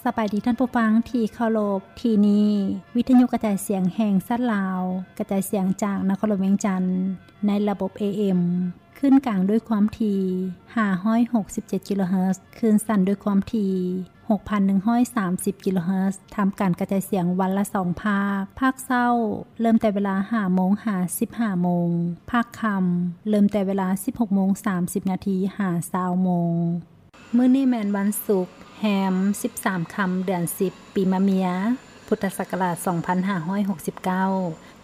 ສະບາຍດີທ່ານຜູ້ຟັງທີ່ເຄົາລົບ, ທີ່ນີ້ວິທະຍຸກະຈາຍສຽງແຫ່ງຊາດລາວ, ກະຈາຍສຽງຈາກນະຄອນຫຼວງວຽງຈັນ ໃນລະບົບ ເອເອັມ ຄື້ນກາງດ້ວຍຄວາມຖີ່ ຫ້າຮ້ອຍຫົກສິບເຈັດ ກິໂລເຮີດ, ຄື້ນສັ້ນດ້ວຍຄວາມຖີ່ ຫົກພັນໜຶ່ງຮ້ອຍສາມສິບ ກິໂລເຮີດ, ທຳການກະຈາຍສຽງວັນລະສອງພາກ, ພາກເຊົ້າເລີ່ມແຕ່ເວລາ ຫ້າໂມງ ຫາ ສິບຫ້າໂມງ, ພາກຄ່ຳເລີ່ມແຕ່ເວລາ ສິບຫົກໂມງ ສາມສິບນາທີ ຫາ ຊາວໂມງ. ມື້ນີ້ແມ່ນວັນສຸກ ແຮມ ສິບສາມຄ່ຳ ເດືອນສິບ ປີມະເມຍ, ພຸດທະສັກກະລາດ ສອງພັນຫ້າຮ້ອຍຫົກສິບເກົ້າ,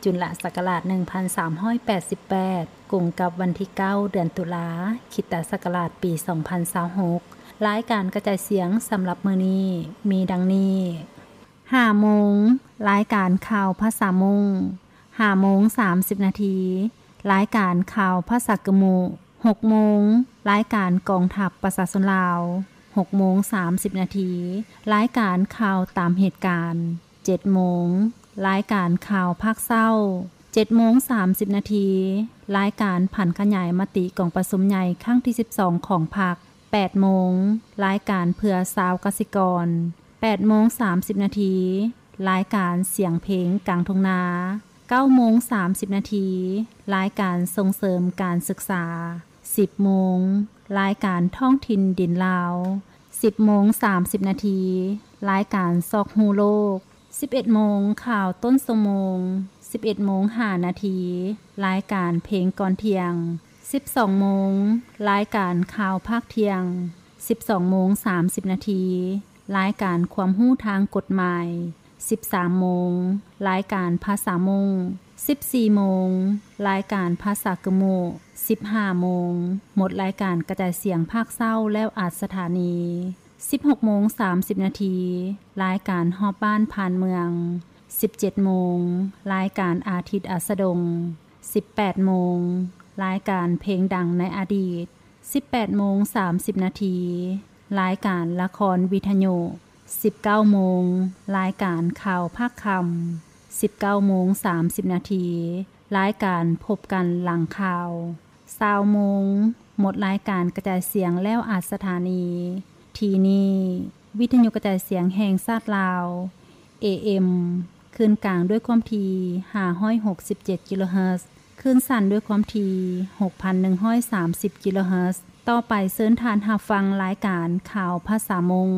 ຈຸນລະສັກກະລາດ ໜຶ່ງພັນສາມຮ້ອຍແປດສິບແປດ, ກົງກັບວັນທີເກົ້າ ເດືອນຕຸລາ, ຄຣິສຕະສັກກະລາດ ປີສອງພັນຊາວຫົກ. ລາຍການກະຈາຍສຽງສຳລັບມື້ນີ້ມີດັ່ງນີ້: ຫ້າໂມງ, ລາຍການຂ່າວພາສາມົ້ງ, ຫ້າໂມງ ສາມສິບນາທີ, ລາຍການຂ່າວພາສາກຶມມຸ, ຫົກໂມງ, ລາຍການກອງທັບປະຊາຊົນລາວ, ຫົກໂມງ ສາມສິບນາທີ, ລາຍການຂ່າວຕາມເຫດການ, ເຈັດໂມງ, ລາຍການຂ່າວພາກເຊົ້າ, ເຈັດໂມງ ສາມສິບນາທີ, ລາຍການຜັນຂະຫຍາຍມະຕິກອງປະຊຸມໃຫຍ່ຄັ້ງທີສິບສອງຂອງພັກ, ແປດໂມງ, ລາຍການເພື່ອຊາວກະສິກອນ, ແປດໂມງ ສາມສິບນາທີ, ລາຍການສຽງເພງກາງທົ່ງນາ, ເກົ້າໂມງ ສາມສິບນາທີ, ລາຍການສົ່ງເສີມການສຶກສາ, ສິບໂມງ, ລາຍການທ້ອງຖິ່ນດິນລາວ, ສິບໂມງ ສາມສິບນາທີ, ລາຍການຊອກຮູ້ໂລກ, ສິບເອັດໂມງ, ຂ່າວຕົ້ນຊົ່ວໂມງ, ສິບເອັດໂມງ ຫ້ານາທີ, ລາຍການເພງກ່ອນທ່ຽງ, ສິບສອງໂມງ, ລາຍການຂ່າວພາກທ່ຽງ, ສິບສອງໂມງ ສາມສິບນາທີ, ລາຍການຄວາມຮູ້ທາງກົດໝາຍ, ສິບສາມໂມງ, ລາຍການພາສາມົ້ງ, ສິບສີ່ໂມງ, ລາຍການພາສາກຶມມຸ, ສິບຫ້າໂມງ, ໝົດລາຍການກະຈາຍສຽງພາກເຊົ້າແລ້ວອັດສະຖານີ, ສິບຫົກໂມງ ສາມສິບນາທີ, ລາຍການຮອບບ້ານຜ່ານເມືອງ, ສິບເຈັດໂມງ, ລາຍການອາທິດອັດສະດົງ, ສິບແປດໂມງ, ລາຍການເພງດັງໃນອະດີດ, ສິບແປດໂມງ ສາມສິບນາທີ, ລາຍການລະຄອນວິທະຍຸ, ສິບເກົ້າໂມງ, ລາຍການຂ່າວພາກຄ່ຳ, ສິບເກົ້າໂມງ ສາມສິບນາທີ, ລາຍການພົບກັນຫຼັງຂ່າວ, ຊາວໂມງ, ໝົດລາຍການກະຈາຍສຽງແລ້ວອັດສະຖານີ. ທີ່ນີ້ວິທະຍຸກະຈາຍສຽງແຫ່ງຊາດລາວ ເອເອັມ ຄື້ນກາງດ້ວຍຄວາມຖີ່ ຫ້າຮ້ອຍຫົກສິບເຈັດ ກິໂລເຮີດ, ຄື້ນສັ້ນດ້ວຍຄວາມຖີ່ ຫົກພັນໜຶ່ງຮ້ອຍສາມສິບ ກິໂລເຮີດ. ຕໍ່ໄປເຊີນທ່ານຮັບຟັງລາຍການຂ່າວພາສາມົ້ງ.